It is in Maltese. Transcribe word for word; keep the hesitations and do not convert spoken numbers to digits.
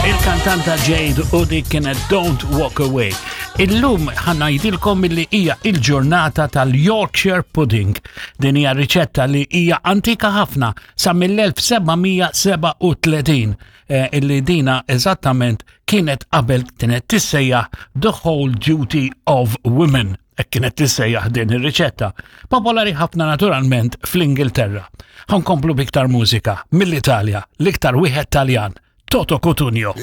Il-kantanta Jade u dik kienet Don't Walk Away. Illum ħa ngħidilkom illi hija il-ġurnata tal-Yorkshire Pudding. Din hija riċetta li hija antika ħafna sa mill-elf seba' mija sebgħa u tletin eh, illi dina eżattament kienet qabel kienet tissejjaħ The Whole Duty of Women. Hekk kienet tissejjaħ din ir-riċetta. Popolari ħafna naturalment fl-Ingilterra. Ħa nkomplu b'iktar mużika mill-Italja, l-iktar wieħed Taljan, Toto Cutugno.